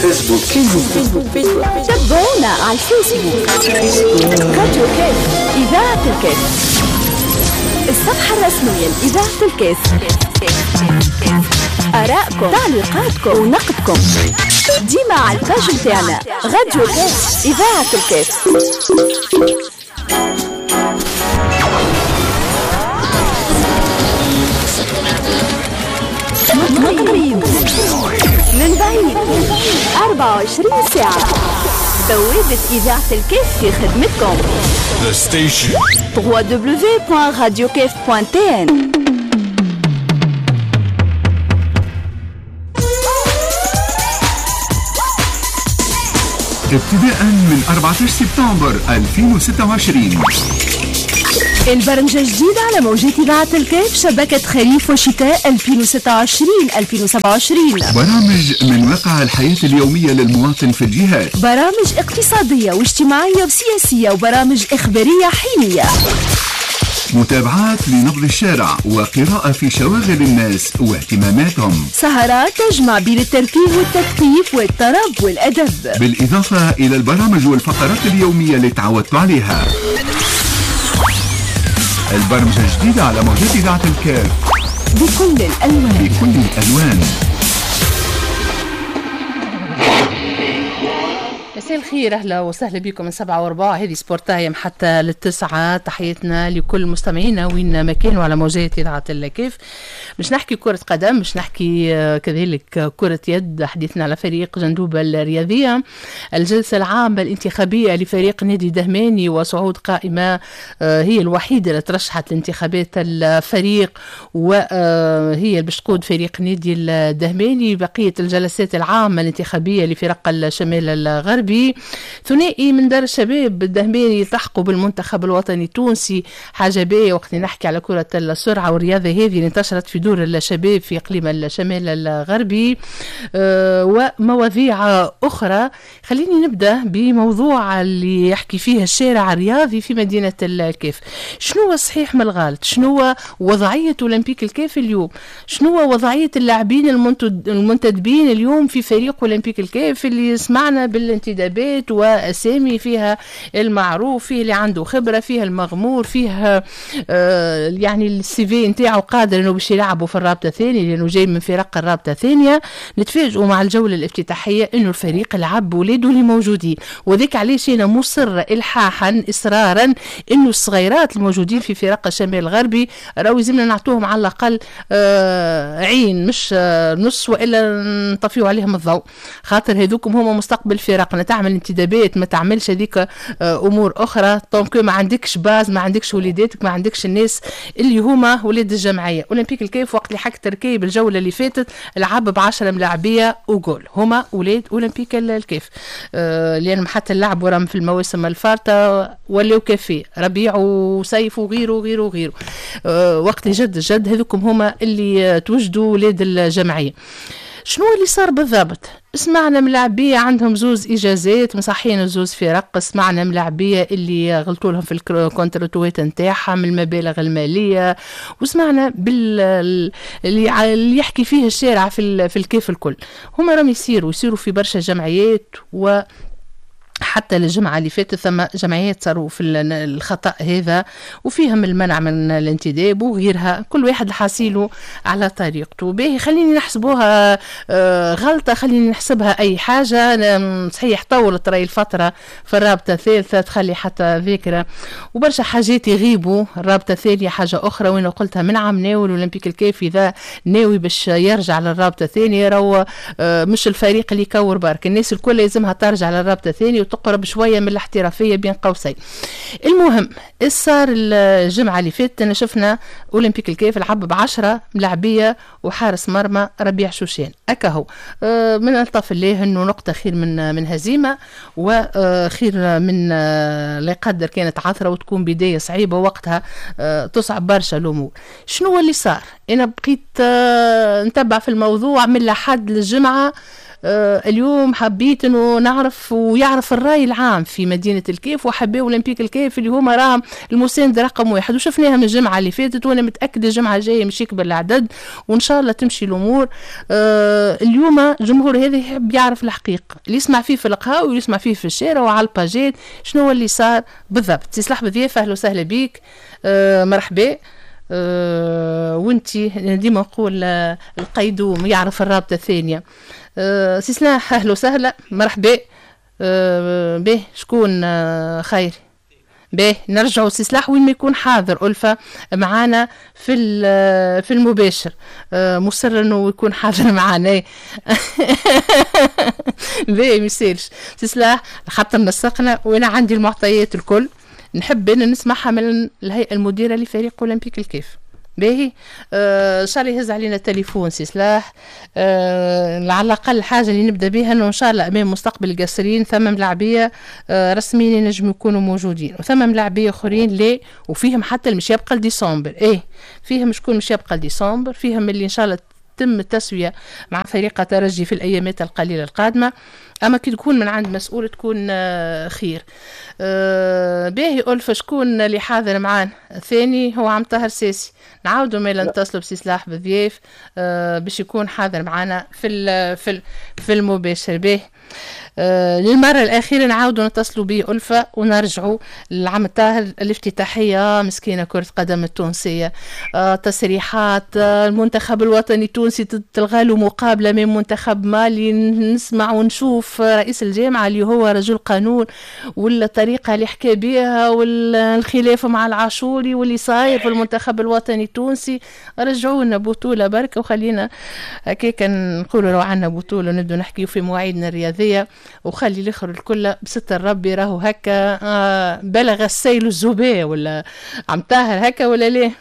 فيسبوك فيسبوك فيسبوك. تابعونا على الفيسبوك راديو كاف إذاعة الكاف، الصفحة الرسمية لإذاعة الكاف. آرائكم، تعليقاتكم ونقدكم ديما على ال page نتاعنا راديو كاف إذاعة الكاف. من قريب من بعيد 24 ساعة بوابة إذاعة الكاف في خدمتكم. The station. www.radiokef.tn. ابتداء من 14 سبتمبر 2026 البرمجة الجديدة على موجات إذاعة الكاف، شبكة خريف وشتاء 2026-2027. برامج من واقع الحياة اليومية للمواطن في الجهات، برامج اقتصادية واجتماعية وسياسية وبرامج إخبارية حينية، متابعات لنبض الشارع وقراءة في شواغل الناس واهتماماتهم، سهرات تجمع بين الترفيه والتثقيف والطرب والأدب، بالإضافة إلى البرامج والفقرات اليومية اللي تعودتوا عليها. البرمجة الجديدة على موجات إذاعة الكاف بكل الألوان، بكل الألوان. مساء الخير، اهلا وسهلا بكم من 7:15 هذه Sport Time حتى للتسعة. تحياتنا لكل مستمعينا وين ما كانوا على موجات اذاعة الكاف. مش نحكي كره قدم، مش نحكي كذلك كره يد. حديثنا على فريق جندوبه الرياضية، الجلسة العامة الانتخابية لفريق نادي دهماني وصعود قائمة هي الوحيدة اللي ترشحت لانتخابات الفريق وهي اللي باش تقود فريق نادي الدهماني. بقية الجلسات العامة الانتخابية لفرق الشمال الغربي، ثنائي من دار الشباب الدهماني يلتحقوا بالمنتخب الوطني التونسي. حاجة باهية وقت نحكي على كرة السرعة والرياضة هذه اللي انتشرت في دور الشباب في إقليم الشمال الغربي، ومواضيع أخرى. خليني نبدأ بموضوع اللي يحكي فيه الشارع الرياضي في مدينة الكاف. شنو الصحيح من الغلط؟ شنو وضعية أولمبيك الكاف اليوم؟ شنو وضعية اللاعبين المنتدبين اليوم في فريق أولمبيك الكاف اللي سمعنا بالانتدابات واسامي فيها المعروف، فيه اللي عنده خبره، فيها المغمور، فيها يعني ال CV نتاعو قادر انه باش يلعبوا في الرابطة الثانية لانه جاي من فرق الرابطة الثانية. نتفاجئوا مع الجولة الافتتاحيه انه الفريق لعب ولاده اللي موجودين، وذاك علاش انا مصر الحاحا اصرارا انه الصغيرات الموجودين في فرق الشمال الغربي راهو لازمنا نعطوهم على الاقل عين مش نص والا نطفيو عليهم الضوء، خاطر هذوكم هما مستقبل فرقنا. تعمل انتدابات ما تعملش هذيك امور اخرى tant que ما عندكش base، ما عندكش وليداتك، ما عندكش الناس اللي هما ولاد الجمعية. اولمبيك الكاف وقت اللي حك تركيب الجولة اللي فاتت لعب ب10 ملاعبيه وجول، هما ولاد اولمبيك الكاف، لانهم حتى اللعب وراهم في المواسم الفارطه ولاو كافي ربيع وسيف وغيره وغيره وغيره. وقت اللي جد جد هذوكم هما اللي توجدوا ولاد الجمعية. شنو اللي صار بالضبط؟ سمعنا ملاعبية عندهم زوز إجازات مصحين زوز فرق، سمعنا ملاعبية اللي غلطوا لهم في الكونتراتوات نتاعهم المبالغ المالية، وسمعنا اللي يحكي فيه الشارع في الكيف الكل. هما راهم يصيروا في برشا جمعيات، و حتى الجمعة اللي فاتت ثم جمعيات صاروا في الخطأ هذا وفيهم المنع من الانتداب وغيرها. كل واحد حاسيله على طريقته. باهي خليني نحسبوها غلطة، خليني نحسبها أي حاجة. صحيح طولت راي الفترة في الرابطة الثالثة تخلي حتى ذاكرة وبرشا حاجات يغيبوا. الرابطة الثانية حاجة أخرى وين قلتها من عام ناول أولمبيك الكاف إذا ناوي باش يرجع للرابطة الثانية راهو مش الفريق اللي يكور برك، الناس الكل لازمها ترجع للرابطة الثانية وتقرب شوية من الاحترافية بين قوسين. المهم صار الجمعة اللي فاتت انا شفنا اولمبيك الكاف لعب ب10 ملاعبيه وحارس مرمى ربيع شوشان اكاهو. من الطف الله انه نقطة خير من هزيمة وخير من لا يقدر كانت عثره وتكون بداية صعيبة وقتها تصعب برشا الامور. شنو اللي صار؟ انا بقيت نتبع في الموضوع من لحد للجمعة. اليوم حبيت انه نعرف ويعرف الراي العام في مدينة الكاف وحباو اولمبيك الكاف اللي هما راهم المساند رقم واحد، وشفناها من الجمعة اللي فاتت، وانا متاكدة الجمعة الجاية مش يكبر العدد وان شاء شاء الله تمشي الامور. اليوم الجمهور هذا يحب يعرف الحقيقة، اللي يسمع فيه في القهاوي واللي يسمع فيه في الشارع وعلى الباجات، شنو اللي صار بالضبط. سي صلاح بضياف اهلا وسهلا بيك، مرحبا. وانتي ديما نقول القيدوم يعرف الرابطة الثانية. سي صلاح اهلا وسهلا مرحبا. به شكون خير به نرجعوا سي صلاح وين ما يكون حاضر ألفة معانا في المباشر، مصر انه يكون حاضر معانا. باهي ما يسالش سي صلاح، خاطر نسقنا وانا عندي المعطيات الكل، نحب ان نسمعها من الهيئة المديرة لفريق اولمبيك الكاف. باهي ان شاء الله يهز علينا التليفون سي صلاح. على الاقل حاجة اللي نبدا بها انه ان شاء الله امام مستقبل القصرين ثم ملاعبيه رسميين ينجموا يكونوا موجودين، وثم ملاعبيه اخرين لا، وفيهم حتى اللي مش يبقى لديسمبر. ايه فيهم شكون مش يبقى لديسمبر، فيهم اللي ان شاء الله تتم التسوية مع فريق ترجي في الايامات القليلة القادمة. اما كي تكون من عند مسؤول تكون خير. باهي ألفة شكون اللي حاضر معانا الثاني؟ هو عم طاهر ساسي. نعاودوا مالا نتصلوا بسي صلاح بضياف باش يكون حاضر معانا في المباشر. باهي للمرة الأخيرة نعاودوا نتصلوا به ألفة ونرجعوا للعم الطاهر. الافتتاحية مسكينة كرة قدم التونسية، تصريحات المنتخب الوطني التونسي تلغى له مقابلة من منتخب مالي. نسمع ونشوف رئيس الجامعة اللي هو رجل قانون، والطريقة اللي حكى بها، والخلاف مع العاشوري واللي صاير في المنتخب الوطني التونسي. رجعونا بطولة بركة وخلينا هكاك نقولوا لو عندنا بطولة ونبدو نحكيو في مواعيدنا الرياضية، وخلي الاخر الكل بستر ربي راهو هكا بلغ السيل الزباء. ولا عم طاهر هكا ولا ليه؟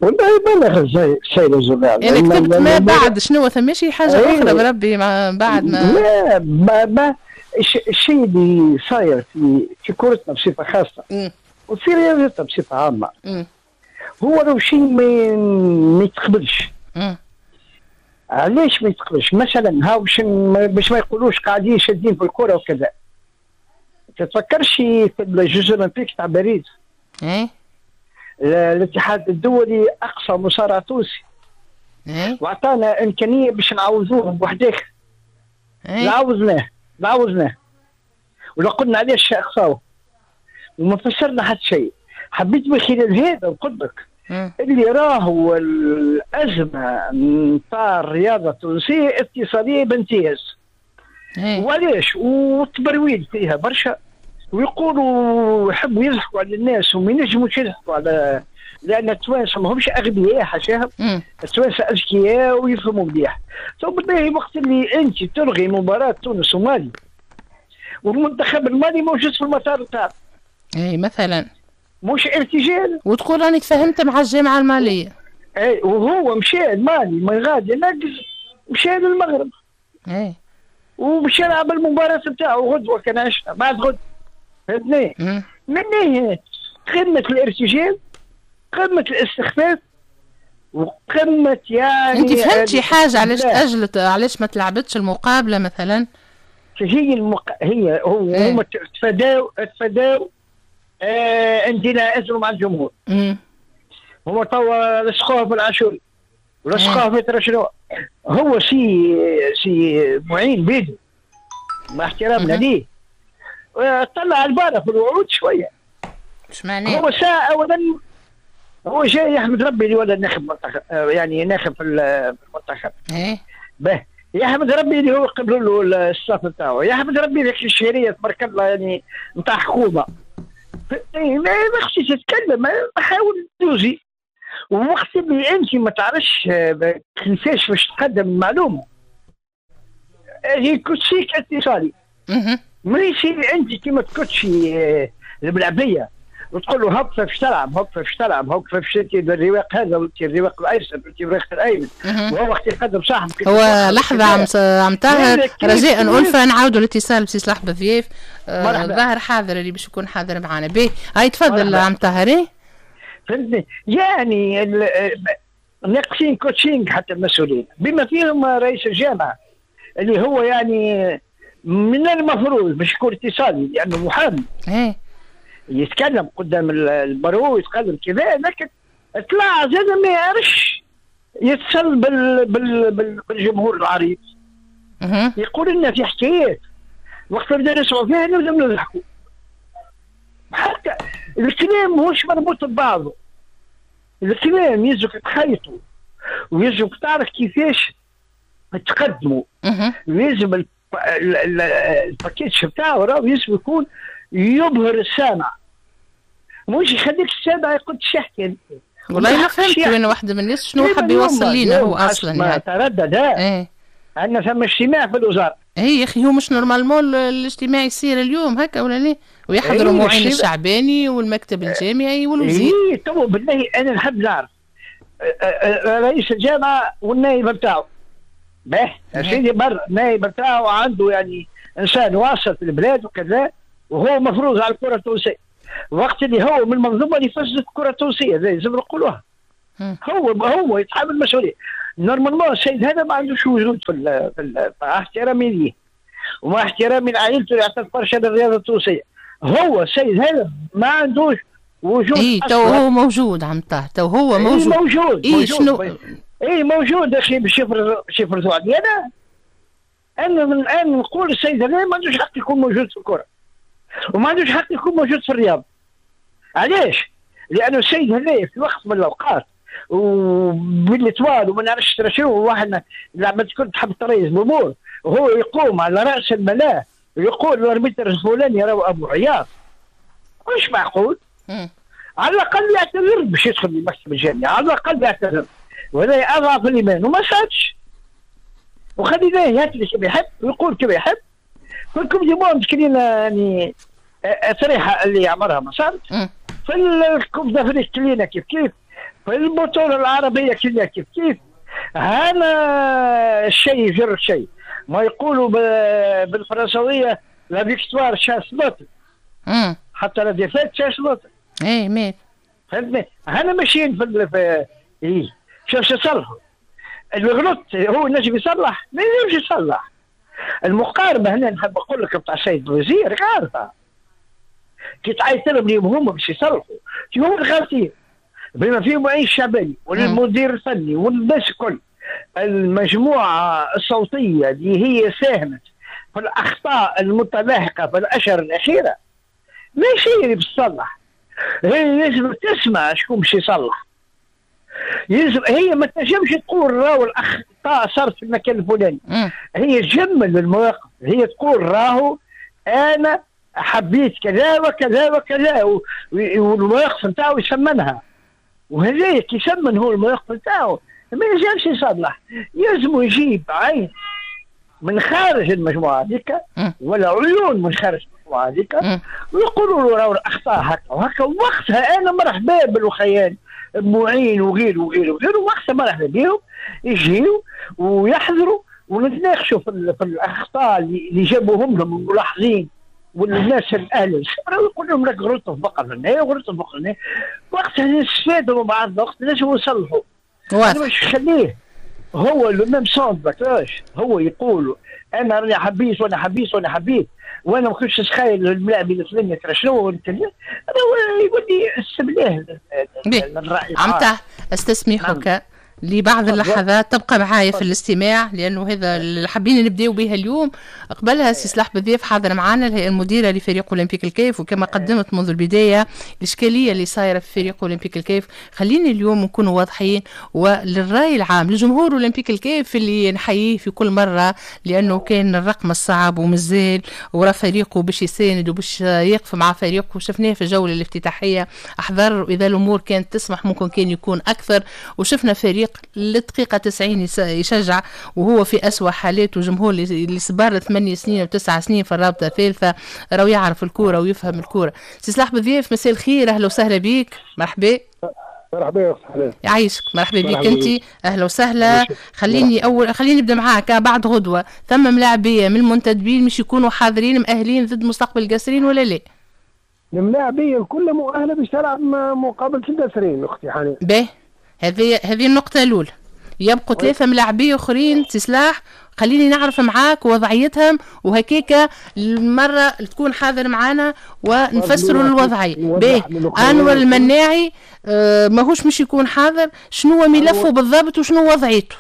والله بلغ السيل الزباء. انا كتبت ما بعد شنو ثماشي حاجة اخرى بربي مع بعد ما لا ما الشيء اللي صاير في كرتنا بصفة خاصة وفي رياضتنا بصفة عامة هو لو شيء ما يتقبلش. علاش ما يتقبلش؟ مثلا هاو باش ما يقولوش قاعدين شادين في الكره وكذا. تتفكرش في ال Jeux Olympiques تاع باريس؟ ايه الاتحاد الدولي اقصى مصارع تونسي واعطانا امكانية باش نعوضوه بواحد اخر. عوضناه ولا قلنا علاش اقصاوه وما فسرنا حتى شيء. حبيت من خلال هذا نقول لك اللي راهو الأزمة نتاع الرياضة التونسية اتصالية بامتياز. وعلاش؟ والتبرويد فيها برشا، ويقولوا يحبوا يضحكوا على الناس وما ينجموش يضحكوا على، لأن التوانسة ماهمش أغبياء حاشاهم، التوانسة أذكياء ويفهموا مليح. تو بالله وقت اللي أنت تلغي مباراة تونس ومالي والمنتخب المالي موجود في المطار نتاعك. اي مثلا مش ارتجال، وتقول راني تفاهمت مع الجامعة المالية. اي وهو مشى المالي من غادي ناقز مشى للمغرب. اي ومشى يلعب المباراة نتاعو غدوه كان عشنا بعد غد. فهمتني؟ من قمة الارتجال، قمة الاستخفاف، وقمة يعني انت فهمتي حاجة علاش تاجلت، علاش ما تلعبتش المقابلة مثلا؟ هي هي هما تفاداو عندنا ازمة مع الجمهور. هما توا لصقوها في العاشوري ولصقوها في ترشنو. هو سي معين بيدو مع احترامنا ليه طلع البارة في الوعود شوية. اش معناه؟ هو ساعة اولا هو جاي يحمد ربي اللي ولا ناخب منتخب، يعني ناخب في المنتخب. ايه به يحمد ربي اللي هو قبلوا له ال staff نتاعو، يحمد ربي ذاك الشهرية تبارك الله يعني نتاع حكومة. ما خصنيش تتكلم، حاول دوزي. ووقت اللي انت ما تعرفش كيفاش باش تقدم المعلومة هي coaching اتصالي. ماشي انت كيما تكوتشي الملعبيه وتقول له هب كيفاش تلعب، هب كيفاش تلعب، هب كيفاش الرواق هذا وانت الرواق الايسر وانت الرواق الايمن، وهو وقت يقدم صاحبك. هو لحظة عم طاهر رجاء ألفة نعاودوا الاتصال بسي صلاح بضياف. ظاهر حاضر اللي باش يكون حاضر معنا. باهي هاي تفضل عم طاهر. فهمتني؟ يعني ناقصين coaching حتى المسؤولين بما فيهم رئيس الجامعة اللي هو يعني من المفروض باش يكون اتصالي لانه محامي. يتكلم قدام ال barreau ويتكلم كذا، لكن طلع زاد ما يعرفش يتصل بالجمهور العريض يقول لنا في حكايات وقت نبدا نسمعوا فيها نبدا نضحكوا. حتى الكلام ماهوش مربوط ببعضه، الكلام يلزمك تخيطه ويلزمك تعرف كيفاش تقدمه، لازم ال package بتاعه راهو يلزم يكون يبهر السامع، مش يخليك السامع يقول تشحكي. والله ما فهمت وين واحدة من الناس شنو حب يوصل لينا هو اصلا. ما تردد عندنا ثم اجتماع في الوزارة. اي يا اخي هو مش normalement الاجتماع يصير اليوم هكا ولا ليه؟ ويحضروا معين الشعباني والمكتب الجامعي والوزير. اي تو بالله انا نحب نعرف رئيس الجامعة والنائب بتاعه. باه سيدي بر النائب بتاعه عنده يعني انسان واصل في البلاد وكذا، وهو مفروض على الكره التونسية. وقت اللي هو من المنظومة اللي فسدت الكره التونسية لازم نقولوها. هو يتحمل المسؤولية. normalement السيد هذا ما عندوش وجود في مع احترامي ليه ومع احترامي لعائلته اللي اعطت برشا للرياضة التونسية، هو السيد هذا ما عندوش وجود. اي تو هو موجود عم طه، تو هو موجود. موجود. إيه شنو؟ اي موجود اخي باش يفرضوا علي انا. انا من الان نقول السيد هذا ما عندوش حق يكون موجود في الكره وما عندوش حق يكون موجود في الرياضة. علاش؟ لانه السيد هذا في وقت من الاوقات وبالإطوال وما نعرفش شنو واحد لعبة كنت تحب تريز الامور، وهو يقوم على راس الملاء ويقول ال arbitre الفلاني راهو ابو عياض. مش معقول. على الاقل يعتذر باش يدخل لمكتب الجامعة، على الاقل يعتذر، وهذا اضعف الايمان وما صارش. وخليناه يهتلي كما يحب ويقول كما يحب. في ال coupe du monde كلينا يعني طريحه اللي عمرها ما صارت. في ال coupe d'Afrique كلينا كيف كيف، في البطولة العربية كلها كيف كيف. هذا الشيء يجر الشيء، ما يقولوا بالفرنسوية la victoire chasse l'autre، حتى la défaite chasse l'autre. اي ميت فهمتني؟ هنا ماشيين في اي شوف شو يصلحوا. اللي غلط هو نجم يصلح، ما ينجمش يصلح. المقاربة هنا نحب نقول لك بتاع السيد الوزير غالطة. كي تعيط لهم اليوم هما باش يصلحوا، هما الغالطين بما فيهم معين الشعباني والمدير الفني والناس الكل. المجموعة الصوتية اللي هي ساهمت في الأخطاء المتلاحقة في الأشهر الأخيرة ماشي هي اللي باش تصلح. هي لازم تسمع شكون باش يصلح. يلزم هي ما تنجمش تقول راهو الأخطاء صارت في المكان الفلاني. هي تجمل المواقف، هي تقول راهو أنا حبيت كذا وكذا وكذا، والمواقف نتاعو يسمنها. وهذا كي يسمن هو المواقف نتاعو ما ينجمش يصلح. يلزم يجيب عين من خارج المجموعة هذيك ولا عيون من خارج المجموعة هذيك ويقولوا له راهو الاخطاء هكا وهكا. وقتها انا مرحبا بالوخيان معين وغيره وغيره وغيره، وقتها مرحبا بهم يجيو ويحضروا ونتناقشوا في الاخطاء اللي جابوهم لهم الملاحظين والناس الاهل الخبرة، ويقول لهم راك غلطوا في بقر هنا وغلطوا في بقر هنا. وقتها نستفادوا من بعض، وقت لازم نصلحوا. واضح. مش خليه هو le même son de cloche، هو يقول انا راني حبيت وانا حبيت وانا حبيت وانا ما كنتش نتخيل الملاعب الفلاني ترى شنو هو يقول لي استبلاه الراي. عمته استسمحك لبعض اللحظات تبقى معايا في الاستماع، لانه هذا اللي حابين نبداو به اليوم. قبلها سي صلاح بضياف حاضر معنا، الهيئة المديرة لفريق اولمبيك الكاف، وكما قدمت منذ البداية الاشكالية اللي صايرة في فريق اولمبيك الكاف. خليني اليوم نكونوا واضحين وللراي العام لجمهور اولمبيك الكاف اللي نحييه في كل مرة، لانه كان الرقم الصعب ومازال ورا فريقه باش يساند وباش يقف مع فريقه. شفناه في الجولة الافتتاحيه احضر، واذا الامور كانت تسمح ممكن كان يكون اكثر، وشفنا فريق للدقيقة 90 يشجع وهو في أسوأ حالاته. جمهور اللي صبر 8 سنين و9 سنين في الرابطة الثالثة راهو يعرف الكورة ويفهم الكورة. سي صلاح بضياف مساء الخير، أهلا وسهلا بيك. مرحبا. مرحبا يا أخت حلال. يعيشك، مرحبا بك أنت، أهلا وسهلا. خليني أول خليني نبدا معاك. بعد غدوة ثم ملاعبية من المنتدبين مش يكونوا حاضرين مؤهلين ضد مستقبل القصرين ولا لا؟ الملاعبية الكل مؤهلة باش تلعب مقابلة القصرين أختي حنان. باهي، هذه النقطة الأولى. يبقوا 3 ملاعبيه اخرين سلاح، خليني نعرف معاك وضعيتهم وهكيكا المرة تكون حاضر معانا ونفسروا الوضعية. باهي، انور المناعي ماهوش مش يكون حاضر، شنو ملفه بالضبط وشنو وضعيته؟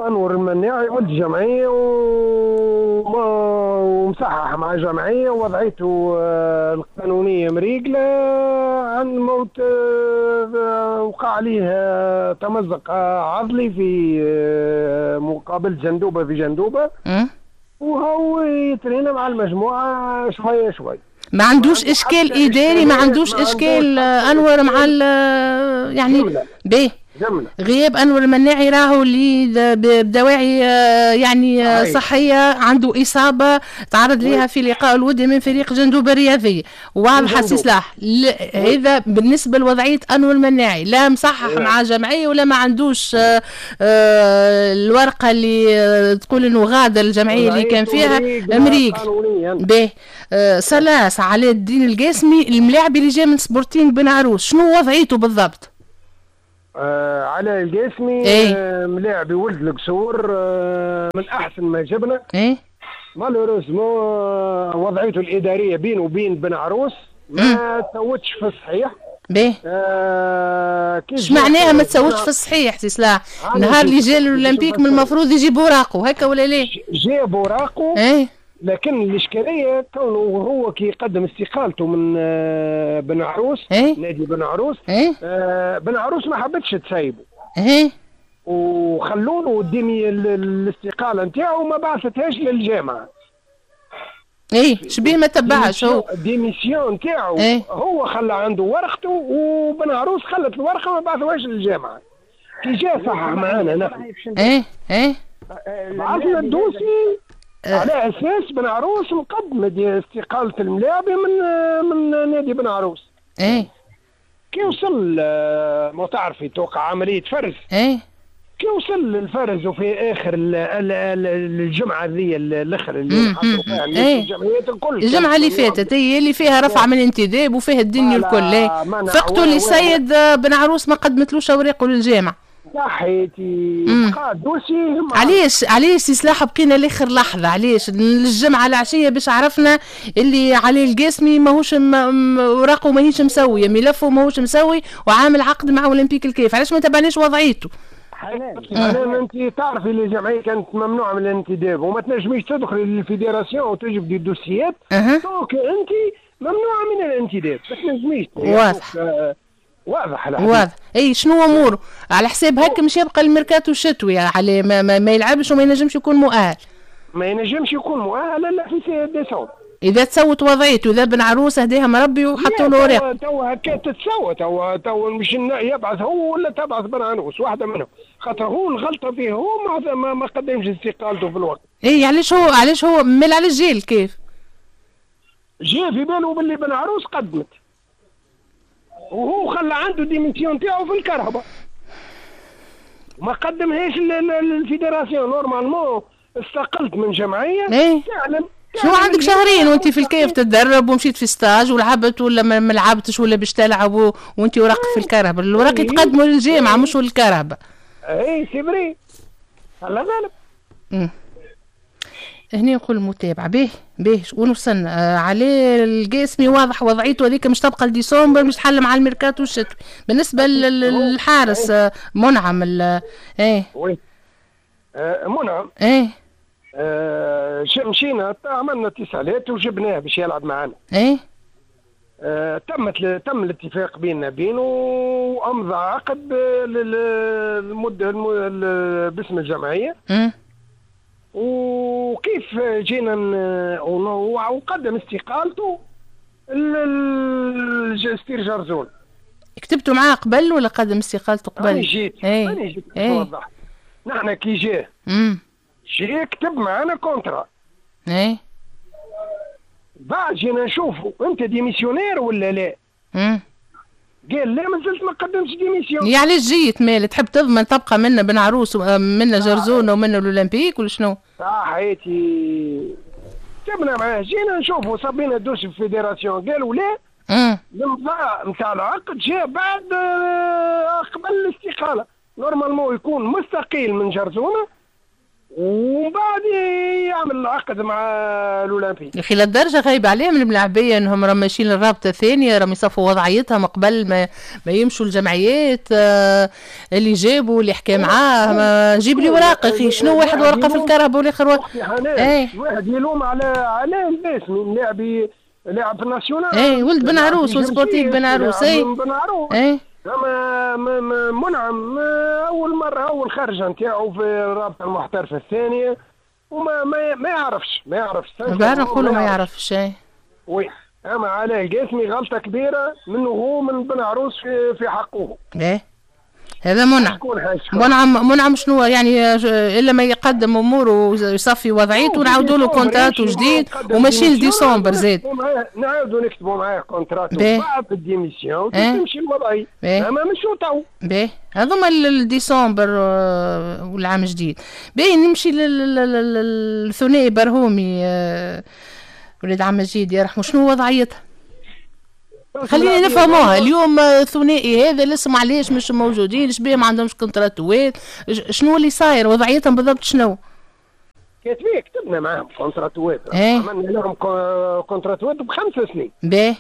انور المناعي ولد جمعية ومصحح مع جمعية، ووضعيته القانونية مريقله عن موت، وقع عليه تمزق عضلي في مقابل جندوبه في جندوبه، وهو يترينا مع المجموعة شوية شوية. ما عندوش اشكال اداري، ما عندوش اشكال انور مع يعني باهي. غياب انور المناعي راهو اللي بدواعي يعني صحية، عنده اصابه تعرض لها في لقاء الودي من فريق جندوبه الرياضية، واضحة سي سلاح. هذا بالنسبة لوضعيه انور المناعي، لا مصحح مع جمعية ولا ما عندوش الورقة اللي تقول انه غادر الجمعية اللي كان فيها مريق. باهي، سلاس علاء الدين القاسمي الملاعب اللي جاي من سبورتينغ بن عروس، شنو وضعيته بالضبط؟ علاء القاسمي إيه؟ ملاعبي ولد القصور، من احسن ما جبنا. ايه malheureusement وضعيته الادارية بينه وبين بن عروس ما تسوتش في الصحيح. باهي، اش معناها ما تسوتش في الصحيح سي سلاح؟ نهار اللي جا الاولمبيك من المفروض يجيب اوراقه هكا ولا ليه؟ جاب اوراقه ايه، لكن الاشكالية كونه هو كي يقدم استقالته من بن عروس، إيه؟ نادي بن عروس، إيه؟ بن عروس ما حبتش تسيبه، ايه، وخلوا له الاستقالة نتاعو ما بعثتهاش للجامعة. ايه شبيه ما تبعش هو démission نتاعو، إيه؟ هو خلى عنده ورقته وبن عروس خلت الورقة ما بعثوهاش للجامعة. كي جا صحح معانا نحن، ايه ايه، بعثنا ال dossier على اساس بن عروس مقدم استقالة الملاعبي من نادي بن عروس. ايه كي وصل، ما تعرفي توقع عملية فرز. ايه كي وصل للفرز وفي اخر الجمعة ذي الاخر اللي حطوا فيها الجمعيات الكل، الجمعة اللي فاتت هي اللي فيها رفع من الانتداب وفيها الدنيا الكل. ايه فقتوا لي السيد بن عروس ما قدمتلوش اوراقه للجامعة. صحيتي، بقى dossier. علاش سي سلاح بقينا لاخر لحظة؟ علاش الجمعة العشية باش عرفنا اللي علي القاسمي ماهوش اوراقه ماهيش مسويه، ملفه ماهوش مسوي وعامل عقد مع اولمبيك الكيف، علاش ما تبعناش وضعيته؟ حنان انت تعرفي اللي الجمعية كانت ممنوعة من الانتداب وما تنجميش تدخلي لل fédération وتجبدي الدوسيات، donc انت ممنوعة من الانتداب، ما تنجميش. واضح واضح واضح. اي شنو اموره على حساب هكا مش يبقى الميركاتو الشتوي على ما يلعبش وما ينجمش يكون مؤهل. ما ينجمش يكون مؤهل الا في ديسمبر. اذا تسوت وضعيته، اذا بن عروس هداها مربي وحطوا له اوراق. تو هكا تتسوى، تو مش يبعث هو ولا تبعث بن عروس، واحدة منهم، خاطر هو الغلطة فيه هو ما قدمش استقالته في الوقت. اي علاش هو مال على الجيل كيف؟ جا في باله باللي بن عروس قدمت، وهو خلى عنده démission تاعو في الكرهبه وما قدمهاش لل fédération. normalement استقلت من جمعية. ايه تعلم شنو عندك شهرين وانت في الكيف تتدرب ومشيت في stage ولعبت ولا ما لعبتش ولا باش تلعب وانت وراق في الكرهبه، الوراق يتقدموا للجامعة مش للكرهبه. اي c'est vrai، الله غالب. هنا نقول المتابعة به به وين وصلنا؟ علي القاسمي واضح وضعيته هذيك مش تبقى لديسمبر، مش تحل مع الميركاتو الشتوي. بالنسبة للحارس منعم ايه oui منعم ايه مشينا عملنا اتصالات وجبناه باش يلعب معنا. ايه تم الاتفاق بيننا بينه وامضى عقد للمدة باسم الجمعية. وكيف جينا وقدم استقالته الستير جرزون. كتبتوا معاه قبل ولا قدم استقالته قبل؟ أنا جيت أنا جيت نوضح. نحن كي جا جا كتب معنا contrat. ايه بعد جينا نشوفوا انت démissionnaire ولا لا؟ قال لا مازلت ما قدمتش démission. يعني علاش جيت مال تحب تضمن تبقى منا بن عروس منا جرزونه ومنا الاولمبيك ولا شنو؟ صحيتي كتبنا معاه جينا نشوفوا صبينا dossier في fédération قالوا لا. الامضاء نتاع العقد جاء بعد قبل الاستقالة. normalement يكون مستقيل من جرزونه ومن بعد يعمل العقد مع الاولمبي. يا اخي للدرجة غايب عليهم الملاعبيه انهم راهم ماشيين للرابطة الثانية، راهم يصفوا وضعيتهم قبل ما يمشوا الجمعيات. اللي جابوا اللي حكى معاه جيب لي ورقة اخي، شنو واحد ورقة في الكهرباء والاخر ايه واحد يلوم على الناس من لاعب لاعب في ال nationale. ايه ولد بن عروس وسبورتيف بن عروس. ايه بن عروس. ايه منعم اول مرة اول خرجه نتاعو في الرابطة المحترفه الثانية وما ما, ما يعرفش ما يعرفش نقولوا ما يعرفش. ايه oui اما علاء القاسمي غلطه كبيرة منه هو من بن عروس في حقه. ايه هذا منعم. منعم شنو يعني الا ما يقدم اموره ويصفي وضعيته ونعاودوا له contrat جديد وماشي لديسمبر زاد. نعاودوا نكتبوا معاه contrat بعد ال démission تمشي الوضعية. اما مش تو. باهي هذوما الديسمبر والعام الجديد. باهي نمشي للثنائي برهومي ولاد عم مجيد يرحمه، شنو وضعيتها؟ خلينا نفهموها اليوم. الثنائي هذا الاسم علاش مش موجودين؟ اش بيه ما عندهمش كونتراتوات؟ شنو اللي صاير وضعيتهم بالضبط؟ شنو كاتبين؟ كتبنا معاهم كونتراتوات. ايه؟ عملنا لهم كونتراتوات ب5 سنين. باهي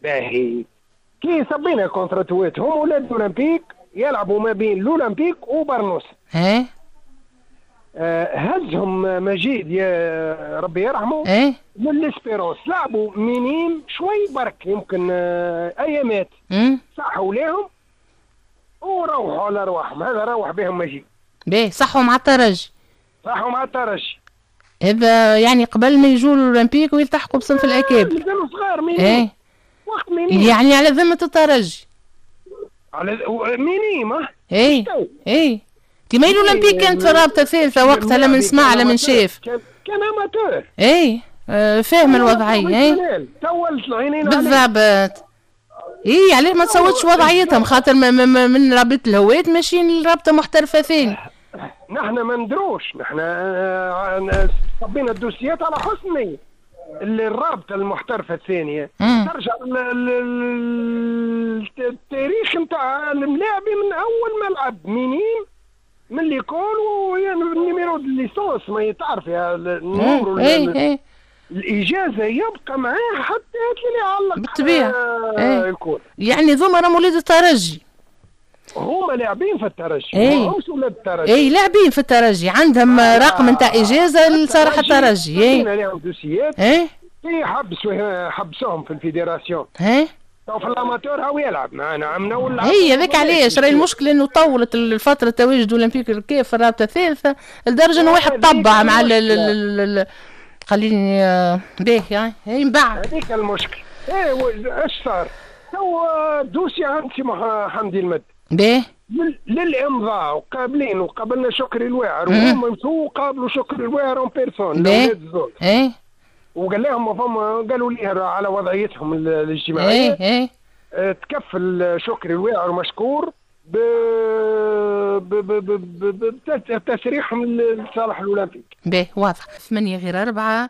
باهي كي صبينا كونتراتوات هم ولاد الاولمبيك يلعبوا ما بين الاولمبيك وبرنوس. ايه هزهم مجيد يا ربي يرحمه. ايه من l'Espérance لعبوا minimes شوي برك يمكن ايامات صحوا لهم وروحوا على رواحهم. هذا روح بهم مجيد. باهي صحوا مع الترجي. صحوا مع الترجي هذا يعني قبل ما يجوا الاولمبيك ويلتحقوا بصنف الاكابر. مازالوا صغار minimes. ايه وقت minimes يعني على ذمه الترجي على minimes. ايه ايه كيما الاولمبيك كانت في الرابطة الثالثة وقتها لا من سمع لا من شاف. كان amateur. اي فاهم الوضعية. اي طولت العينين بالضبط. اي علاش ما تصوتش وضعيتهم؟ خاطر من رابطه الهواة ماشيين لرابطه محترفه ثاني. نحن ما ندروش، نحن صبينا الدوسيات على حسن نيه. اللي الرابطة المحترفه الثانية ترجع التاريخ نتاع الملاعبي من اول ما لعب minime من l'école وال numéro licence ما تعرف يا ال numéro. ايه الاجازة يبقى معاه حتى اللي يعلق بالطبيعة. الكل يعني ذوما راهم ولاد الترجي، هما لاعبين في الترجي. ايه ماهمش ولاد الترجي. اي لاعبين في الترجي عندهم رقم نتاع اجازه لصالح الترجي. اي لهم دوسيات. ايه حبسوهم في ال fédération. ايه تو في ال amateur هو يلعب معنا عمنا ولا هي هذاك علاش راهي المشكلة انه طولت الفترة تواجد اولمبيك الكاف في الرابطة الثالثة لدرجة انه واحد طبع مع خليني باهي يعني هي من بعد هذيك المشكل. ايه اش صار؟ تو dossier عند سي حمدي المد باهي للامضاء وقابلين وقابلنا شكري الواعر وهم مشوا وقابلوا شكري الواعر en personne الاولاد الزوز. ايه وقال لهم فما قالوا لي على وضعيتهم الاجتماعية. ايه تكفل شكري الواعر مشكور بتسريحهم لصالح الاولمبيك. باهي واضح. 7:57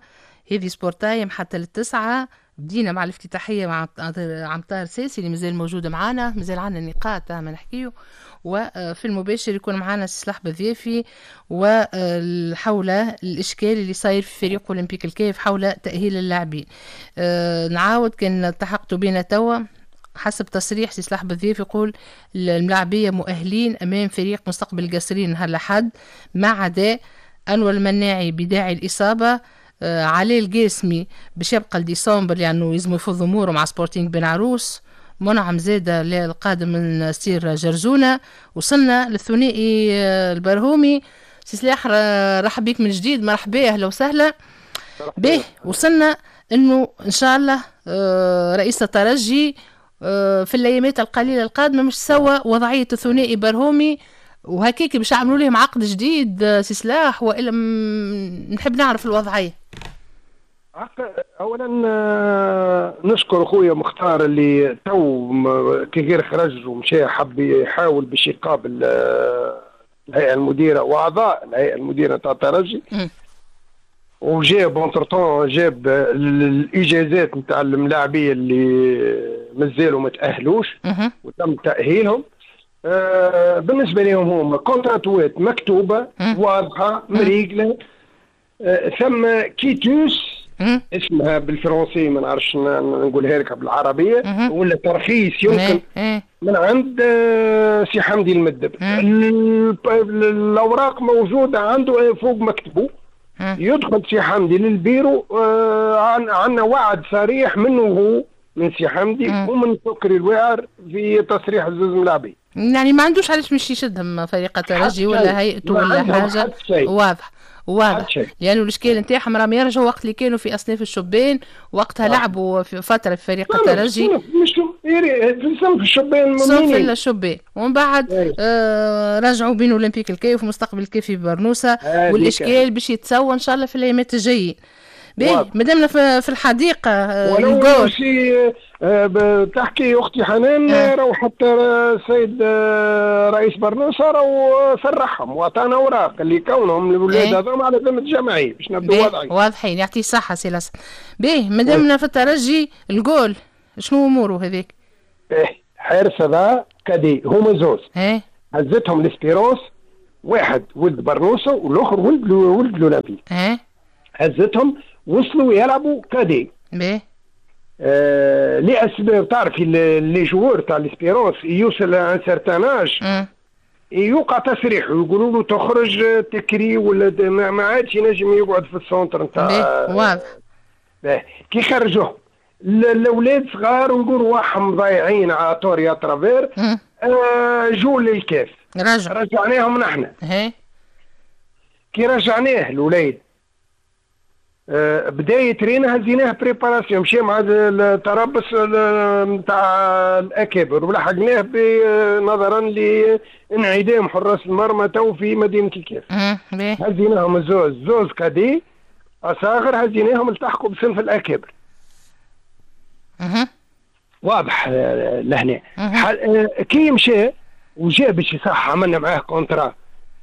هذه Sport Time حتى 9:00. بدينا مع الافتتاحيه مع عم طاهر ساسي اللي مازال موجود معنا، مازال عندنا نقاط ما نحكيو، وفي المباشر يكون معنا سلاح بذيافي وحول الاشكال اللي صاير في فريق اولمبيك الكاف حول تاهيل اللاعبين. نعاود كان التحقتوا بنا توا حسب تصريح سي سلاح بالضيف يقول الملاعبية مؤهلين أمام فريق مستقبل القصرين نهار الأحد ما عدا أنور المناعي بداعي الإصابة، علي القاسمي باش يبقى لديسمبر لأنه يلزم يفض أموره مع سبورتينغ بن عروس، منعم زادة القادم من سير جرزونة. وصلنا للثنائي البرهومي. سي سلاح رحب بك من جديد، مرحبا أهلا وسهلا به. وصلنا أنه إن شاء الله رئيس الترجي في الايامات القليلة القادمة مش سوا وضعية الثنائي برهومي وهكاك باش يعملوا لهم عقد جديد سي سلاح، والا نحب نعرف الوضعية. اولا نشكر خويا مختار اللي تو كي غير خرج ومشى حب يحاول باش يقابل الهيئة المديرة واعضاء الهيئة المديرة تاع الترجي، وجاب entre-temps جاب الاجازات نتاع الملاعبيه اللي مازالوا ما تاهلوش وتم تاهيلهم. بالنسبة لهم هما contrat وات مكتوبة واضحة مريقله، ثم quitus اسمها بالفرنسي ما نعرفش نقولها لك بالعربية، ولا ترخيص يمكن من عند سي حمدي المدب. الاوراق موجودة عنده فوق مكتبه. يدخل سي حمدي للبيرو، عندنا وعد صريح منه هو، من سي حمدي ومن سكري الواعر في تصريح الزوز ملاعبي. يعني ما عندوش علاش مش يشدهم فريق الترجي ولا هيئته ولا حاجة. واضح واضح، لانه يعني الاشكال نتاعهم راهم يرجعوا وقت اللي كانوا في اصناف الشبان، وقتها لعبوا في فترة في فريق الترجي في صنف الشبان، صنف الشبان، ومن بعد رجعوا بين اولمبيك الكاف ومستقبل الكاف في برنوسه، والاشكال باش يتسوى ان شاء الله في الايامات الجايين. باهي مادامنا في الحديقة ولو شي تحكي اختي حنان، راهو حتى السيد رئيس برنوسه راهو صرحهم واعطانا اوراق اللي كونهم الاولاد هذوما على ذمه الجمعية باش نبدو واضحين. واضحين، يعطيه الصحة سي لاسن. باهي مادامنا في الترجي، الجول شنو اموره هذاك؟ باهي حارس هذا cadet هما زوز هزتهم l'Espérance، واحد ولد برنوسه والاخر ولد الاولمبيك. هزتهم وصلوا يلعبوا cadets. باهي لاسباب تعرفي les joueurs تاع l'Espérance يوصل un certain âge يوقع تسريح ويقولوا له تخرج تكري ولا ما عادش ينجم يقعد في ال centre نتاع. واضح. كي خرجوه الاولاد صغار ونقولوا واحهم ضايعين à tort et à travers، جو للكاف رجعناهم نحن. كي رجعناه الوليد بداية رينا هزيناه préparation، مشى مع التربص نتاع الاكابر ولحقناه نظرا لانعدام حراس المرمى تو في مدينة الكاف. هزيناهم زوز cadets اصاغر، هزيناهم التحقوا بصنف الاكابر. واضح لهنا. كي مشى وجا باش يصح عملنا معاه contrat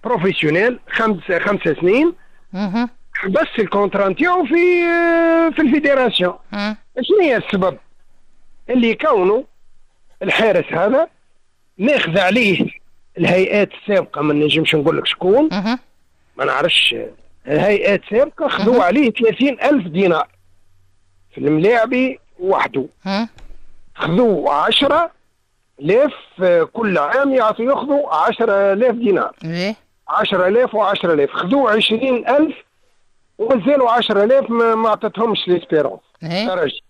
professionnel 5 سنين. بس ال contrat نتاعو في ال fédération. شنو هي السبب؟ اللي كونه الحارس هذا ماخذ عليه الهيئات السابقة، ما نجمش نقول لك شكون، ما نعرفش، الهيئات السابقة خذوا عليه 30,000 دينار في الملاعبي وحده. خذوا 10,000 كل عام، يعطوا ياخذوا 10,000 دينار. 10,000 و10,000، خذوا 20,000 ومازالوا 10,000 ما عطتهمش l'Espérance الترجي.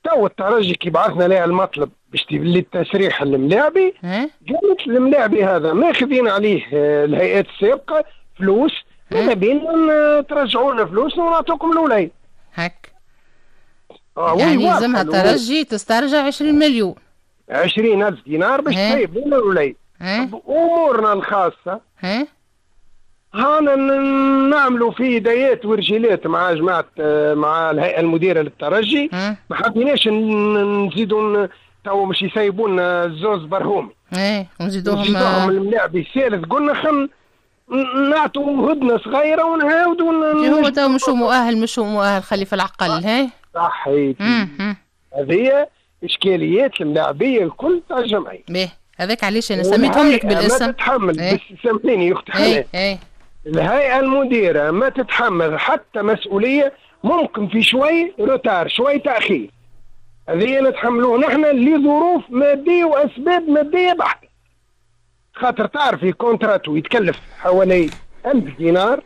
تو الترجي كي بعثنا لها المطلب باش للتسريح الملاعبي، قالت الملاعبي هذا ماخذين عليه الهيئات السابقة فلوس، ماذا بينا ترجعونا فلوسنا ونعطوكم الوليد. هك يعني لازمها الترجي تسترجع 20 مليون، 20,000 دينار باش تسيب لنا الوليد. امورنا الخاصة هانا نعملوا في دايات ورجيلات مع جماعة، مع الهيئة المديرة للترجي. ما حبيناش نزيدوا تو مش يسيبونا الزوز برهومي، ونزيدوهم الملاعب الثالث. قلنا خل نعطوا هدنة صغيرة ونعاودوا. هو تو مش مؤهل، مش مؤهل، خلي في العقل. هاي صحيح. هذه اشكاليات الملاعبيه الكل تاع الجمعية. باهي هذاك علاش انا سميتهم لك بالاسم. ما تتحمل بس سامحيني يا اختي حنان، الهيئة المديرة ما تتحمل حتى مسؤولية، ممكن في شوي retard، شوي تاخير، هذه نتحملوه نحن لظروف مادية واسباب مادية بحته. خاطر تعرفي contrat يتكلف حوالي 1000 دينار،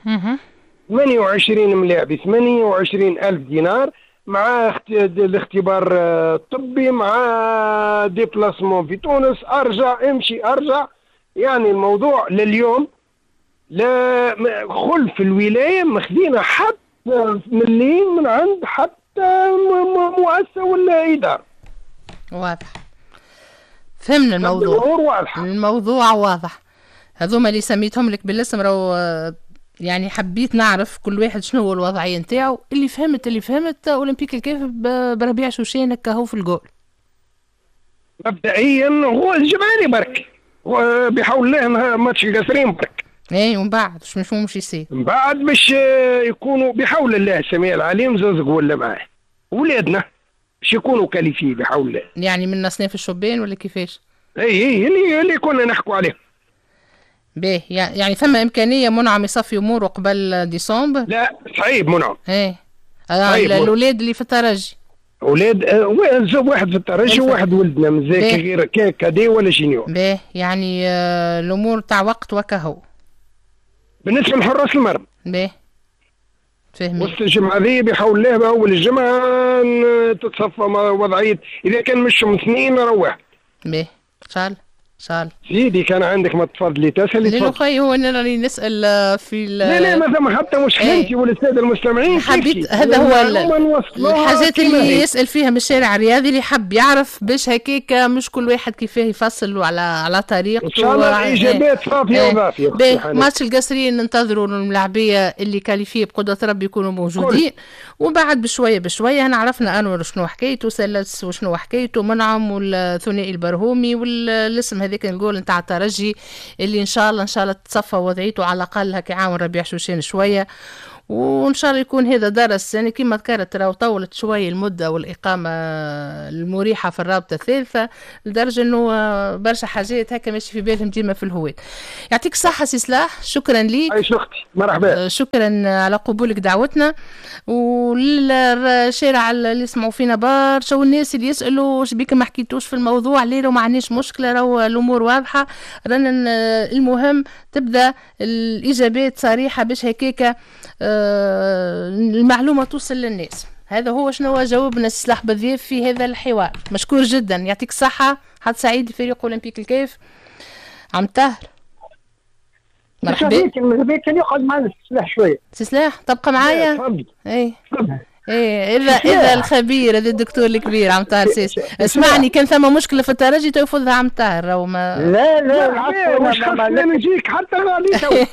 28 ملاعب 28,000 دينار، مع الاختبار الطبي، مع déplacement في تونس، ارجع امشي ارجع. يعني الموضوع لليوم لا خلف الولاية ما خذينا حتى مليم من عند حتى مؤسسة ولا ادارة. واضح، فهمنا الموضوع. واضحة. الموضوع واضح. هذوما اللي سميتهم لك بالاسم راهو يعني حبيت نعرف كل واحد شنو هو الوضعية نتاعو. اللي فهمت اولمبيك الكاف بربيع شوشان هكا هو في الجول. مبدئيا هو الجمعاني برك، بحول الله ماتش القصرين برك. اي ومن بعد شنو مش يصير؟ من بعد باش يكونوا بحول الله السميع العليم زوز ولا معاه ولادنا باش يكونوا qualifiés بحول الله. يعني من اصناف الشبان ولا كيفاش؟ اي اللي كنا نحكوا عليه. باهي، يعني ثم امكانية منعم يصفي اموره قبل ديسمبر؟ لا صعيب منعم. ايه الاولاد اللي في الترجي، اولاد واحد في الترجي وواحد ولدنا مازال غير cadet ولا junior. باهي، يعني الامور تاع وقت وكهو بالنسبة لحراس المرمى. باهي فهمت. وسط الجمعة ذي بحول الله اول الجمعة تتصفى وضعية، اذا كان مش اثنين راه واحد. باهي ان شاء الله ان شاء الله. سيدي كان عندك ما تفضلي تسالي تفضل. خويا هو انا راني نسال في لا ما ثم حتى مشكلة انت ولا السادة المستمعين. حبيت هذا هو الحاجات اللي يسال فيها من الشارع الرياضي اللي حب يعرف باش هكاك مش كل واحد كيفاه يفصل على طريقته. ان شاء الله الاجابات صافية وضافيه. ماتش القصرين ننتظروا الملاعبيه اللي qualifiés بقدره ربي يكونوا موجودين، وبعد بشوية بشوية انا عرفنا انور شنو حكايته، سلس وشنو حكايته، منعم والثنائي البرهومي والاسم هذاك الجول نتاع الترجي اللي ان شاء الله ان شاء الله تصفى وضعيته على الاقل هكا يعاون ربيع شوشان شوية، وان شاء الله يكون هذا درس. يعني كما ذكرت راهو طولت شوية المدة والاقامة المريحة في الرابطة الثالثة لدرجة انه برشا حاجات هكا ماشي في بالهم ديما في الهواة. يعطيك الصحة سي صلاح، شكرا ليك. عايش اختي، مرحبا. شكرا على قبولك دعوتنا، وللشارع اللي يسمعوا فينا برشا والناس اللي يسالوا واش بيك ما حكيتوش في الموضوع، ليه ما عندناش مشكلة، راهو الامور واضحة. رانا المهم تبدا الاجابات صريحه باش هكاكا المعلومة توصل للناس. هذا هو شنو جاوبنا السلاح بذيف في هذا الحوار. مشكور جدا، يعطيك الصحة. حد سعيد لفريق أولمبيك الكيف. عم طاهر مرحبا. كان يقعد معنا السلاح شوية. سي سلاح تبقى معايا؟ اي ايه اذا الخبير هذا الدكتور الكبير عم طاهر سيس. اسمعني، كان ثم مشكلة في الترجي تفوضها عم طاهر او ما لا لا مش خاصني نجيك حتى غالي تو.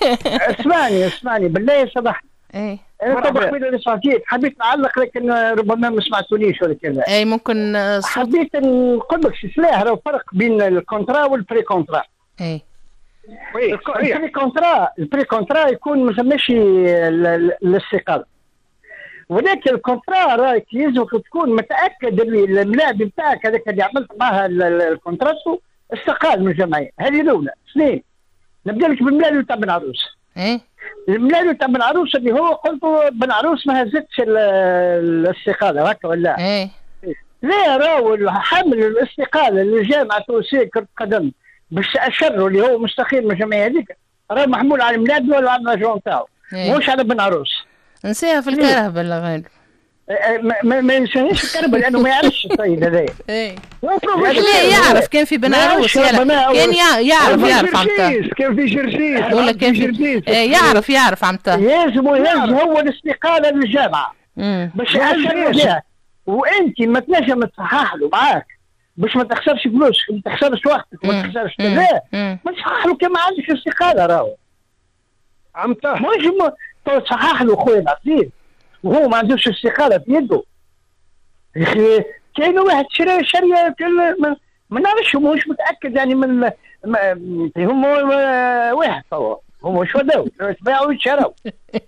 اسمعني بالله سامحني. ايه انا طبعا قبيلة اللي صافيت حبيت نعلق لكن ربما ما سمعتونيش ولا كذا. اي ممكن حبيت نقول لك سلاح راه فرق بين ال contrat وال pré-contrat. اي ال pré-contrat يكون ما ثماش الاستقالة، ولكن ال contrat راك يلزمك تكون متاكد اللي الملاعب نتاعك هذاك اللي عملت معاه ال contrat استقال من الجمعية. هذه الاولى. اثنين، نبدا لك بالملاعب نتاع بن عروس. ايه الملاعب تاع بن عروس اللي هو قلت بن عروس ما هزتش الاستقالة هكا ولا؟ ايه لا، راهو حمل الاستقالة للجامعة التونسية كره القدم باش اشروا اللي هو مستقيل من الجمعية هذيك راه محمول على الملاعب ولا على l'agent تاعو، مش على بن عروس. نساها في الكرهبه ولا غير؟ ما ينساهاش في الكرهبه لانه ما يعرفش السيد هذايا. ايه لا يعرف، كان في بن عروس كان يعرف عم طاهر، كان في جرجيس ولا كان في جرجيس. يعرف عم طاهر. لازم يهز هو الاستقالة للجامعة باش يأشر، وانت ما تنجم تصحح له معاك باش ما تخسرش فلوسك، ما تخسرش وقتك، ما تخسرش كذا، ما تصحح له كان ما عندكش استقالة راهو. عم طاهر مش تصحح له خويا العزيز وهو ما عندوش استقالة في يده. يا اخي كاين واحد شرى شريه ما نعرفش، ماهوش متاكد يعني من هم واحد توا هم مش وداو باعوا وشراو،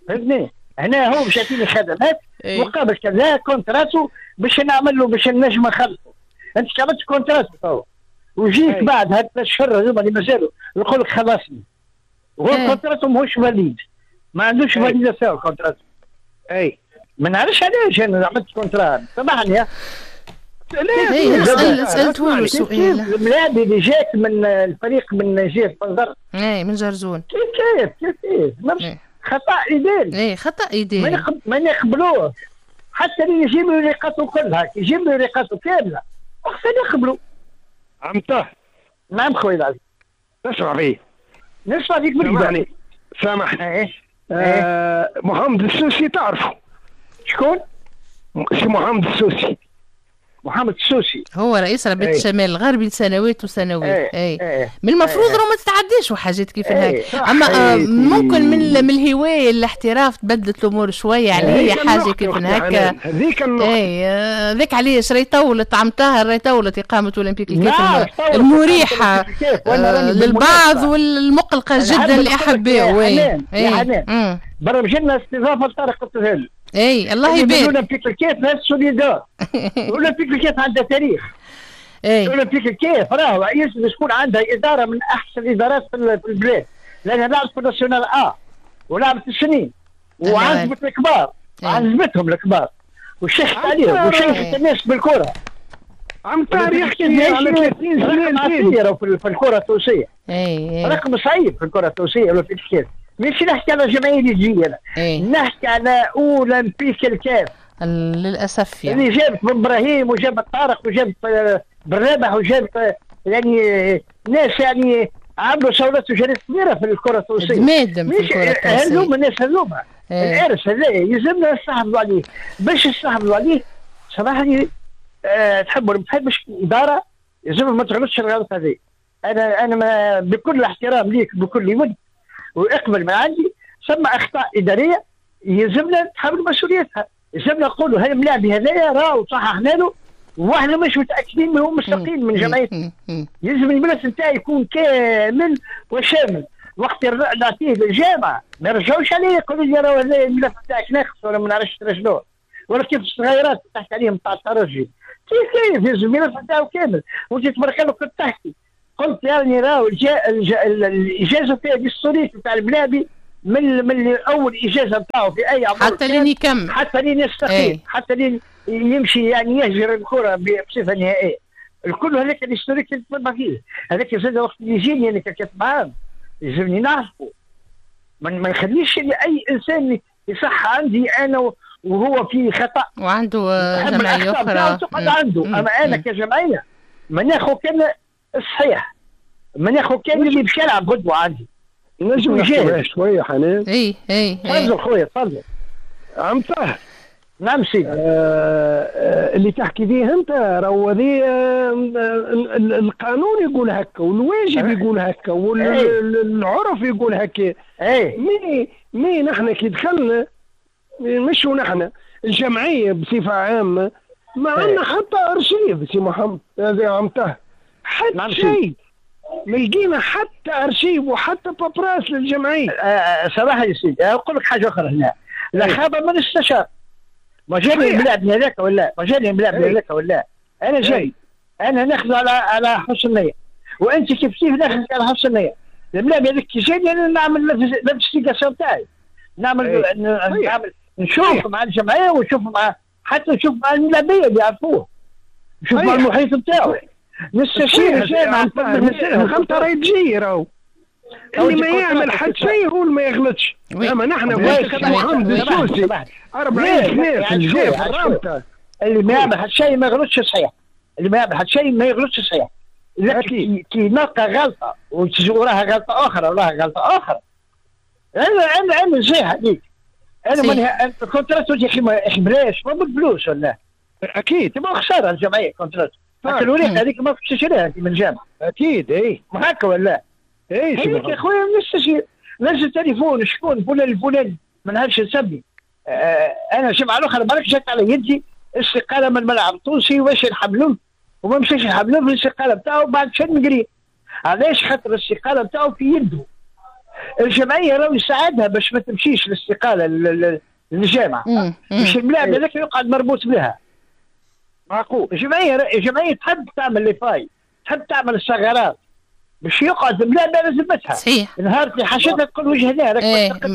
فهمتني؟ هنا هو باش يعطيني خدمات مقابل كذا contrat باش نعمل له باش نجم نخلصه. انت عملت contrat توا وجيت بعد هاد ثلاث شهور هذوما اللي مازالوا نقول لك خلصني، وهو contrat ماهوش valide، ما عندوش validation contrat. اي ما نعرفش علاش انا عملت contrat، سامحني. لا سالته له سؤال. الملاعب اللي جات من الفريق من جهة بنزرت. اي من جرزون. كيف كيف خطا اداري. اي خطا اداري ما نقبلوه حتى اللي يجيب له رقاته كلها، يجيب له رقاته كاملة وقتها نقبلوا. عم طه. نعم خويا العزيز. تسمع فيه؟ نسمع فيك بالكدا. سامحني. محمد السوسي تعرفه؟ شكون؟ سي محمد السوسي. محمد السوسي هو رئيس رابطة الشمال الغربي لسنوات وسنوات. اي من المفروض راه ما تتعداش وحاجات كيف هيك، اما ممكن من الهواية الاحتراف تبدلت الامور شوية، يعني هي حاجة كيف هكا هذيك النقطة. اي ذاك علاش راهي طولت عم طاهر، راهي طولت اقامه اولمبيك الكاف المريحة للبعض والمقلقه جدا لاحبائه. يا حنان برمج لنا استضافة لطارق الطهالي. اي الله يبارك. اولمبيك الكاف ناس solidaires. اولمبيك الكاف عندها تاريخ. اولمبيك الكاف راهو يلزم تكون عندها ادارة من احسن الادارات في البلاد، لانها لعبت في ال nationale A ولعبت السنين وعزمت الكبار، عزمتهم الكبار وشيخت عليهم وشيخت الناس بالكرة. عم طاهر يحكي على 30 سنة في الكره التونسية. رقم صعيب في الكره التونسية اولمبيك الكاف. مش نحكي على جمعية اللي تجي انا، نحكي على اولمبيك الكاف للاسف يعني اللي جابت بن ابراهيم وجابت طارق وجابت بالرابح وجابت يعني ناس يعني عملوا ثورات وجريات كبيرة في الكره التونسية. مادم في الكره التونسية هذوما الناس هذوما الارث هذا يلزمنا نستحفظوا عليه. باش نستحفظوا عليه صراحة تحب ولا ما تحبش الادارة يلزم ما تغلطش الغلط هذه. انا ما بكل احترام ليك بكل ود واقبل ما عندي، ثم اخطاء ادارية يلزمنا نتحمل مسؤوليتها، يلزمنا نقولوا هل الملاعب هذايا راهو صححنا له واحنا مش متاكدين من هو مستقيل من جمعيته. يلزم الملف نتاعي يكون كامل وشامل، وقت نعطيه للجامعة ما يرجعوش عليه يقولوا لي راهو هذا الملف نتاعك ناقص ولا ما نعرفش شنو، ولا كيف الصغيرات تحكي عليهم تاع الترجي كيف يلزم الملف نتاعو كامل. وانت تبارك الله كنت تحكي قلت يعني راهو الاجازة فيها ال historique نتاع الملاعبي من اول اجازه نتاعو في اي عمر حتى لين يكمل، حتى لين يستقيل، حتى لين يمشي يعني يهجر الكره بصفة نهائية. الكل هذاك ال historique اللي تتبع فيه هذاك زاد وقت اللي يجيني انا ككاتب عام يلزمني نعرفه، ما نخليش اي انسان يصح عندي انا وهو في خطا وعنده جمعية اخرى تقعد عنده. اما انا كجمعية ما ناخذ كان الصحيح، ما ناخذ كان اللي باش يلعب غدوه عندي. نجم نحكي شوية حنان. اي اي تفضل خويا تفضل. عم طاهر. نعم سيدي. اللي تحكي فيه انت راهو هذه القانون يقول هكا والواجب يقول هكا والعرف يقول هكا. اي mais نحن كي دخلنا مش نحن الجمعية بصفة عامة ما عندنا حتى ارشيف سي محمد هذا عم طاهر، حتى شيء ما لقينا حتى ارشيف وحتى paperasse للجمعية. صراحة يا سيدي اقول لك حاجة اخرى هنا، لا خاب من استشار. ما جاني الملاعب هذاك ولا ما جاني الملاعب هذاك ولا انا جاي انا ناخذ على حسن النية، وانت كيف كيف ناخذ على حسن النية. الملاعب هذاك كي جاني انا نعمل l'investigation تاعي، نعمل نشوف مع الجمعية ونشوف مع حتى نشوف مع الملاعبيه اللي يعرفوه، نشوف مع المحيط نتاعو، نستشير الجامعة. الغلطة راهي تجي راهو اللي ما يعمل حد شيء هو اللي ما يغلطش. اما نحن محمد السوسي 40 سنة في الجيب الرابطة، اللي ما يعمل حد شيء ما يغلطش صحيح، اللي ما يعمل حد شيء ما يغلطش صحيح. لكن كي نلقى غلطه وتجي وراها غلطه اخرى وراها غلطه اخرى، انا نصيحة ليك، انا من contrat يا اخي بلاش ما بالفلوس ولا اكيد تبقى خسارة الجمعية contrat الوريقه هذيك ما كنتش تشريها من الجامعة اكيد. اي ما هكا ولا اي يا خويا نستشير، نزل تليفون شكون فلان الفلاني ما نعرفش نسمي. انا الجمعة الاخرى بالك جات على يدي استقالة من الملعب التونسي واش نحملوه وما مشاش نحملوه في الاستقالة نتاعو بعد شهر نقري. علاش؟ خاطر الاستقالة نتاعو في يده. الجمعية راهو يساعدها باش ما تمشيش الاستقالة للجامعة، باش الملاعب هذاك يقعد مربوط بها. معقول. الجمعية تحب تعمل les failles، تحب تعمل الثغرات باش يقعد الملاعب على ذمتها. صحيح. نهار اللي حاجتها تقول وجه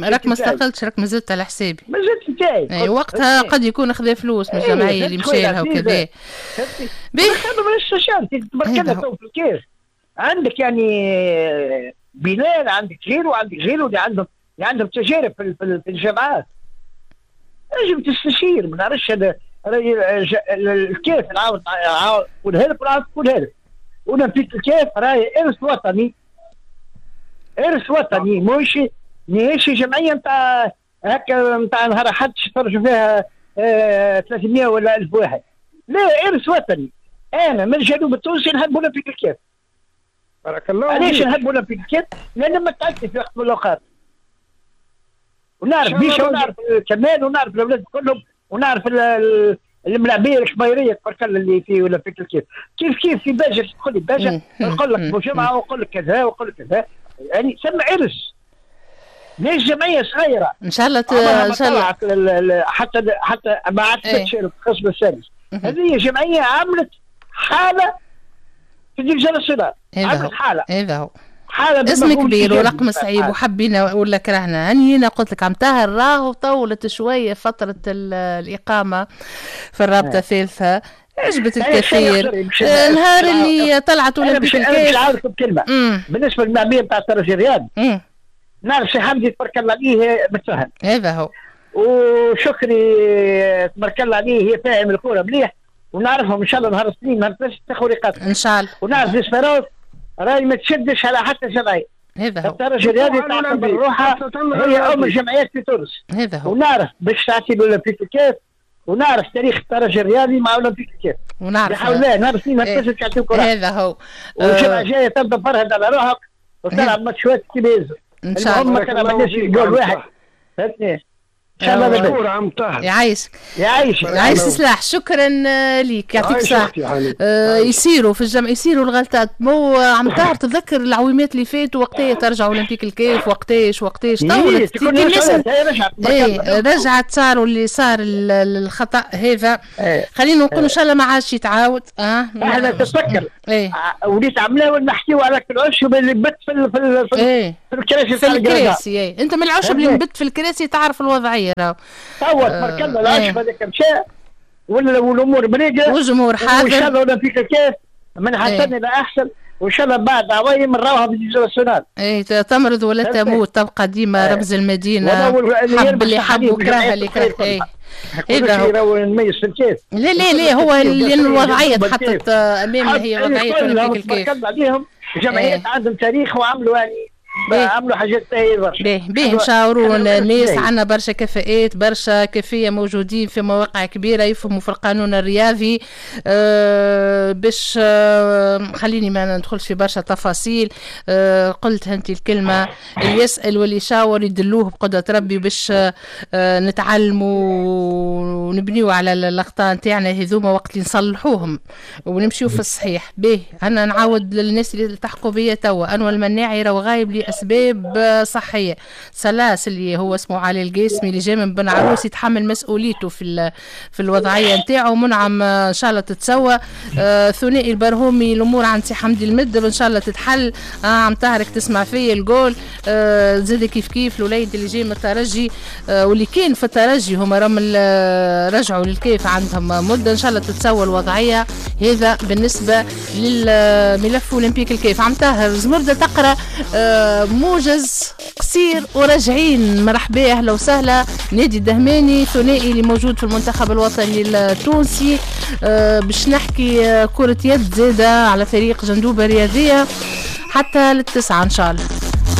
راك ما استقلتش، راك مازلت على حسابي. مازلت نتاعي. اي وقتها قد يكون خذا فلوس من الجمعية اللي مشى لها وكذا. باهي. تبارك الله تو في الكاس عندك يعني بلال، عندك غيره وعندك غيره اللي عندهم تجارب في الجامعات. لازم تستشير، ما نعرفش هذا الكاف نعاود نقولها لك ونعاود نقولها لك. اولمبيك الكاف راهي ارث وطني، ارث وطني، ماهيش جمعية نتاع هكا نتاع نهار حد يتفرجوا فيها 300 ولا 1000 واحد. لا، ارث وطني. انا من الجنوب التونسي نحب اولمبيك الكاف. بارك الله. علاش نحب اولمبيك الكاف؟ لان ما تعبت في وقت من الاوقات، ونعرف بيشا ونعرف كمال ونعرف الاولاد كلهم ونعرف الملاعبيه الكبيريه تبارك الله اللي في ولا في الكيف كيف كيف في باجة تدخل لي باجة نقول لك بوجمعه ونقول لك كذا ونقول لك كذا، يعني سمى عرس. ليش جمعية صغيرة؟ ان شاء الله ان شاء الله حتى ما عادش القسم الثالث. هذه جمعية عملت حاله في ال division nationale. عملت حاله. هذا هو حالة اسم كبير ورقم صعيب، وحبينا ولا كرهنا. هاني قلت لك عم طاهر راهو طولت شوية فترة الاقامة في الرابطة الثالثة، عجبت الكثير. نهار اللي طلعت اولمبيك الكاف. انا باش نعاودكم كلمة بالنسبة للمعميه نتاع الترجي الرياضي، نعرف سي حمدي تبارك الله عليه متفهم. هذا هو. وشكري تبارك الله عليه هي فاهم الكورة مليح، ونعرفهم ان شاء الله نهار الاثنين نهار الثلاث تاخذ رقابه ان شاء الله. ونعرف l'Espérance راهي ما تشدش على حتى جمعية. هذا هو. الترجي الرياضي تعتبر روحها هي ام الجمعيات في تونس. هذا هو. ونعرف باش تعطي الاولمبيك الكاف، ونعرف تاريخ الترجي الرياضي مع اولمبيك الكاف. ونعرف بحول الله نهار الاثنين نهار الثلاث تعطيو كره. هذا هو. والجمعة الجاية تبدا فرهد على روحك وتلعب ماتشات كيما يلزم. ان شاء الله. المهم ما تلعبناش جول واحد، فهمتني؟ ان شاء الله. مشكور عم طاهر. يعيشك. يعيشك. يعيش سلاح. شكرا ليك، يعطيك الصحة. يصيروا في الجمع، يصيروا الغلطات. مو عم طاهر تذكر العويمات اللي فاتوا وقتها ترجع اولمبيك الكاف، وقتاش طولت. رجعت صاروا اللي صار الخطا هذا. خلينا نقول ان شاء الله ما عادش يتعاود. احنا تتذكر وليت عملنا ونحكيو على العشب اللي بت في الكراسي. في الكراسي. انت من العشب اللي نبت في الكراسي تعرف الوضعية. توا تبارك الله العشب هذاك مشى والامور مريقه والجمهور حاضر، وان شاء الله اولمبيك الكاف من حسن الى احسن، وان شاء الله بعد عوايم نراوها في ال division nationale. اي تمرض ولا تموت، تبقى ديما رمز المدينة. حب اللي حب وكره اللي كره. هذا هو نميز في الكاف. لا لا لا، هو لان الوضعية تحطت امامنا هي وضعية اولمبيك الكاف. عليهم جمعيات عندهم تاريخ وعملوا يعني عملوا حاجات باهية برشا. باهي نشاوروا الناس، عندنا برشا كفاءات، برشا كفية موجودين في مواقع كبيرة يفهموا في القانون الرياضي. باش خليني ما ندخلش في برشا تفاصيل. قلت انت الكلمة، اللي يسأل واللي يشاور يدلوه بقدرة ربي باش نتعلموا ونبنيو على الأخطاء نتاعنا هذوما وقت اللي نصلحوهم ونمشيو في الصحيح. باهي أنا نعاود للناس اللي التحقوا بيا توا، أنور المناعي راهو غايب لأسباب صحية. سلاس اللي هو اسمه علي القاسمي اللي جاي من بن عروس يتحمل مسؤوليته في الوضعية نتاعو. منعم إن شاء الله تتسوى. ثنائي البرهومي الأمور عند سي حمدي المدب إن شاء الله تتحل. عم طاهرك تسمع فيا الجول. زاد كيف كيف الوليد اللي جاي من الترجي واللي كان في الترجي هما راهم رجعوا للكيف عندهم مدة، إن شاء الله تتسوى الوضعية. هذا بالنسبة للملف أولمبيك الكيف. عم طاهر زمردة تقرأ موجز قصير وراجعين. مرحبا، اهلا وسهلا. نادي الدهماني ثنائي اللي موجود في المنتخب الوطني التونسي. باش نحكي كرة يد زادة على فريق جندوبة الرياضية حتى للتسعة ان شاء الله.